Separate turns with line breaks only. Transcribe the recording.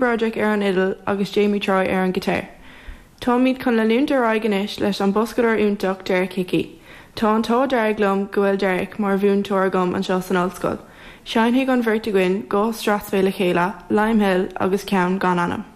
Broderick ar an fhidil agus Jamie Troy ar an ghiotár. Táimid chun leanúint ar aghaidh anois leis an boscadóir iontach Derek Hickey. Tá an t-ádh dearg liom go bhfuil Derek mar mhúinteoir agam anseo san ollscoil. Seinnfidh an bheirt againn 2 strathspey le chéile, Lime Hill agus ceann gan ainm.